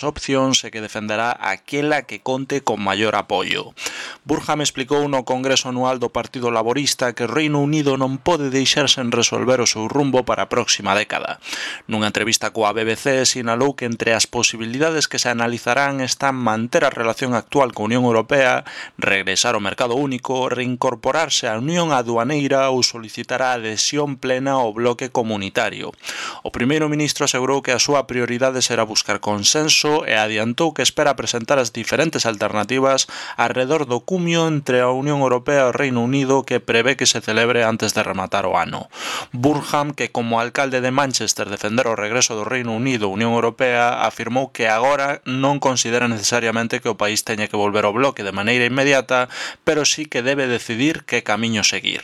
opcións e que defenderá aquela que conte con maior apoio. Burham explicou no Congreso Anual do Partido Laborista que o Reino Unido non pode deixar sen resolver o seu rumbo para a próxima década. Nunha entrevista coa BBC sinalou que entre as posibilidades que se analizarán están manter a relación actual coa Unión Europea, regresar ao mercado único, reincorporarse á Unión Aduaneira ou solicitar a adhesión plena ao bloque comunitario. O primeiro ministro asegurou que a súa prioridade será buscar consenso e adiantou que espera presentar as diferentes alternativas arredor do cumio entre a Unión Europea e o Reino Unido que prevé que se celebre antes de rematar o ano. Burham, que como alcalde de Manchester defender o regreso do Reino Unido á Unión Europea, afirmou que agora non considera necesariamente que o país teña que volver ao bloque de maneira inmediata, pero sí que debe decidir que camiño seguir.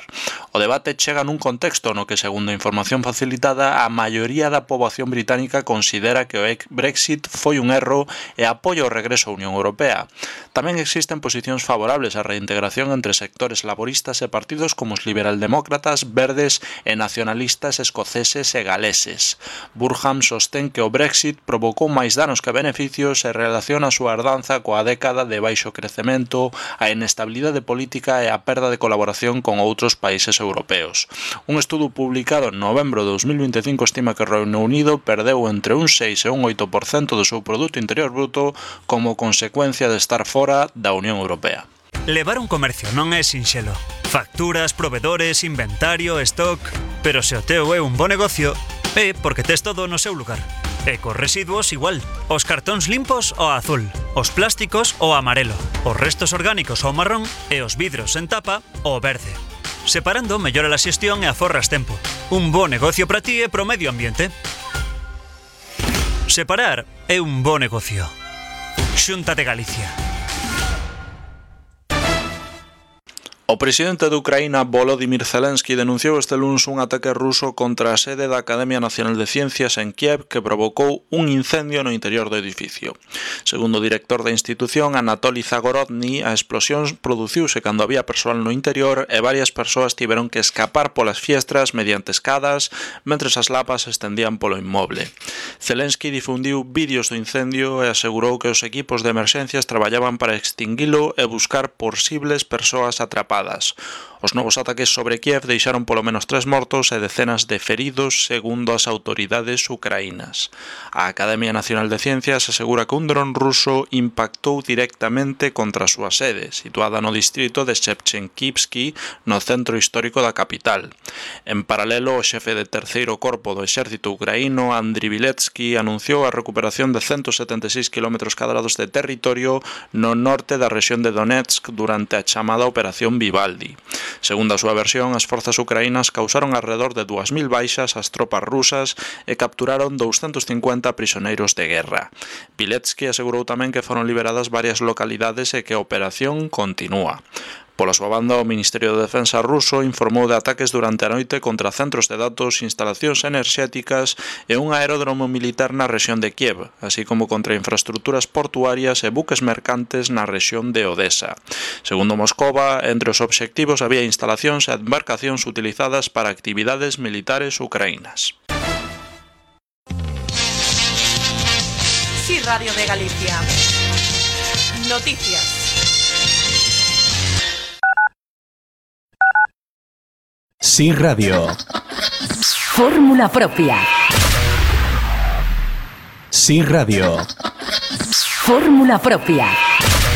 O debate chega nun contexto no que, segundo a información facilitada, a maioría da poboación británica considera que o Brexit foi un erro e apoia o regreso á Unión Europea. Tamén existen posicións favorables á reintegración entre sectores laboristas e partidos como os liberaldemócratas, verdes e nacionalistas escoceses e galeses. Burham sostén que o Brexit provocou máis danos que beneficios e relaciona a súa herdanza coa década de baixo crecemento, a inestabilidade política e a perda de colaboración con outros países europeos. Un estudo publicado en novembro de 2025 estima que o Reino Unido perdeu entre un 6 e un 8% do seu Produto Interior Bruto como consecuencia de estar fora da Unión Europea. Levar un comercio non é sinxelo. Facturas, provedores, inventario, stock... Pero se o teu é un bo negocio, é porque tes todo no seu lugar. E cos residuos igual. Os cartóns limpos ao azul, os plásticos ao amarelo, os restos orgánicos ao marrón e os vidros en tapa ao verde. Separando mellora a xestión e aforras tempo. Un bo negocio para ti e pro medio ambiente. Separar é un bo negocio. Xunta de Galicia. O presidente de Ucraína, Volodymyr Zelensky, denunciou este luns un ataque ruso contra a sede da Academia Nacional de Ciencias en Kiev que provocou un incendio no interior do edificio. Segundo o director da institución, Anatoly Zagorodny, a explosión produciuse cando había persoal no interior e varias persoas tiveron que escapar polas fiestras mediante escadas mentres as lapas se estendían polo inmoble. Zelensky difundiu vídeos do incendio e asegurou que os equipos de emerxencias traballaban para extinguilo e buscar posibles persoas atrapadas. Os novos ataques sobre Kiev deixaron polo menos 3 mortos e decenas de feridos, segundo as autoridades ucraínas. A Academia Nacional de Ciencias asegura que un dron ruso impactou directamente contra a súa sede, situada no distrito de Shevchenkivsky, no centro histórico da capital. En paralelo, o xefe de terceiro corpo do exército ucraíno, Andriy Viletsky, anunciou a recuperación de 176 km² de territorio no norte da rexión de Donetsk durante a chamada Operación Vivaldi. Segundo a súa versión, as forzas ucraínas causaron alrededor de 2.000 baixas ás tropas rusas e capturaron 250 prisioneiros de guerra. Viletsky asegurou tamén que foron liberadas varias localidades e que a operación continúa. Pola súa banda, o Ministerio de Defensa ruso informou de ataques durante a noite contra centros de datos, instalacións enerxéticas e un aeródromo militar na rexión de Kiev, así como contra infraestructuras portuarias e buques mercantes na rexión de Odessa. Segundo Moscova, entre os obxectivos había instalacións e embarcacións utilizadas para actividades militares ucraínas. Sí, Radio de Galicia. Noticias. Sí Radio. Fórmula propia. Sí Radio. Fórmula propia.